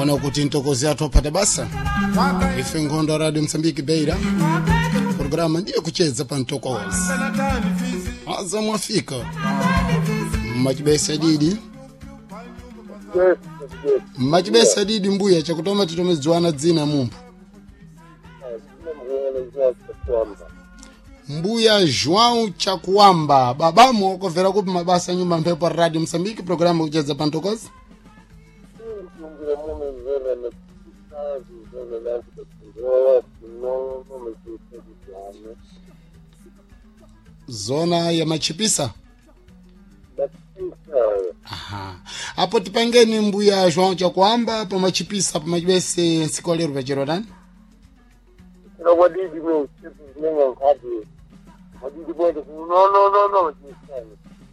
Ona kuti ntokozi athu opata basa ife nkhondo ya Radio Msambiki Beira, programa ndiye kucheza pa ntokozi aza mwafika mmachibesa didi mmachibesa didi mbuya chakutoma titomedziwana dzina mumphu mbuya João Chakuamba babamu okovera kupi mabasa nyumba mphepo Radio Msambiki, programa kucheza pa ntokozi. Zona ya machipisa. Aha. Apo tipangeni mbuya João Chakuamba pa machipisa pa machibese nsiku lero pachero tani.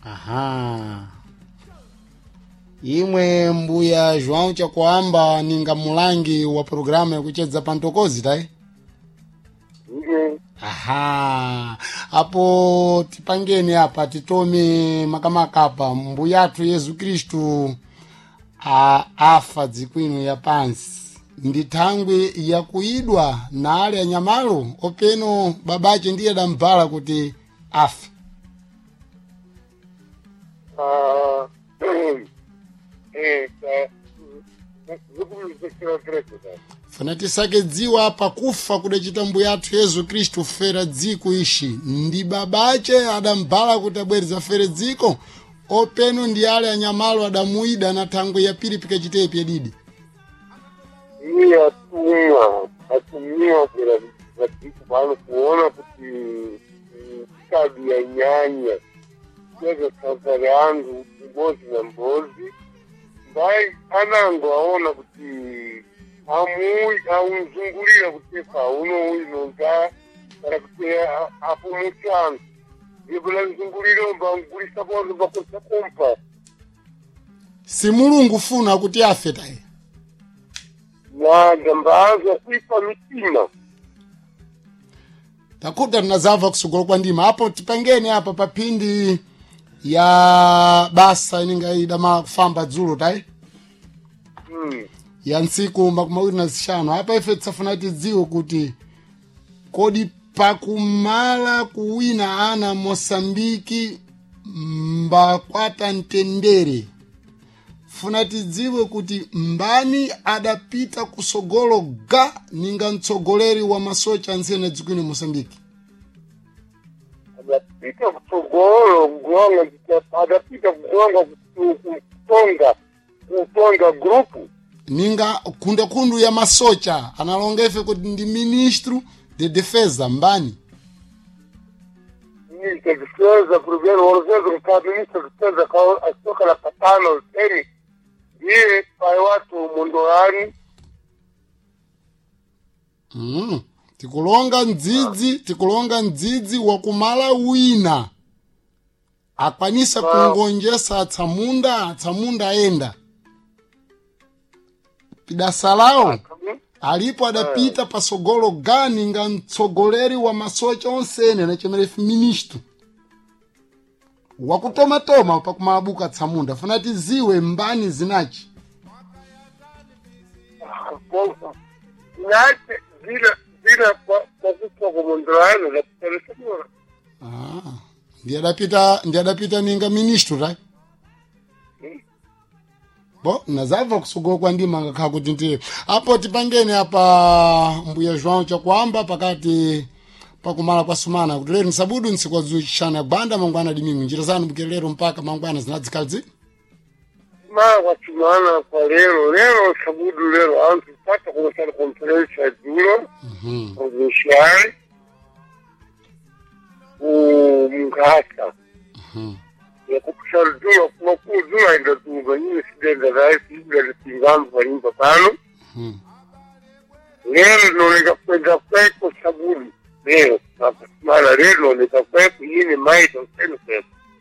Aha. Imwe mbuya João Chakuamba ninga mulangi wa programu yakucheza pa ntokozi tai. Aha. Apo tipangeni apa titome makamaka apa mbuyathu Yesu Kristu a afa dzikwino ya pansi ndi thangwi yakuyidwa na ali anyamalo openo babache ndiye adamvala kuti afe. Funa tisake dziwa pakufa kudachita mbuyathu Yesu Kristu fera dziko ishi ndi babache adambala kuti abwereza fere dziko openo ndi ale anyamalo adamuyida na thangwi ya pili pikachitepi yadidi. Iye atumwa atumiwa kwera vadziko pano kuona kuti kadi ya nyanya cheza safari yangu mbozi na mbozi mbai anango aona kuti amui aunzungulira kuti pauno uinonza kana kuti apumuchanu ndipo lanzungulira mbangulisa bozo bakosa kumpa. Si Mulungu funa kuti afe taye. Nada mbazo kuipa mitima. Takuta tinazamva kusugolo kwa ndima apo tipangeni apa papindi ya basa ininga idama kufamba dzulo tayi ya ntsiku 25 apa ife tisafuna tidziwe kuti kodi pakumala kuwina ana Mosambiki mbakwata mtendere, funa tidziwe kuti mbani adapita kusogolo ga ninga mtsogoleri wa masocha antsene dzikwino Mosambiki. Adapita kutsogolo kugonga, adapita kugonga kutonga kutonga grupu ninga kundakundu ya masocha analonga ife kuti ndi ministro de defesa mbani. Ministro de defesa primeiro orvezo ka ministro de defesa ka asoka la patano teni ndiye pai watu mundoani. Tikulonga mdzidzi, tikulonga mdzidzi wakumala wina akwanisa kungonjesa atsamunda atsamunda ayenda pidasalawo alipo adapita pasogolo gani nga mtsogoleri wa masocha onsene nachemerefu ministro wakutomatoma pakumalabuka atsamunda funa tiziwe mbani zinachi. Nache zina zina kwa kufa kwa mundoani na kutelesema. Ah, ndiye adapita ndiye adapita ninga ministro ta bo nazabva kusugolo kwa ndima ngakhala kuti ndiye apo tipangeni apa mbuya João Chakuamba pakati pakumala kwa sumana kuti lero nsabudu ntsiku adzuchana gwanda mangwana dimingu njira zanu bukira lero mpaka mangwana zinadzikadzi Mara kwa chumana kwa lero lero sabudu lero antu pata kumesana konferensi ya dzulo provincial kumkhasa yakupisha dzulo kumakulu dzulo aenda tunga nyine sidenda raisi ibula litingambo panyumba pano lero linaoneka kwenda kweko sabudu lero mara lero linaoneka kweko yine maita useni kweko.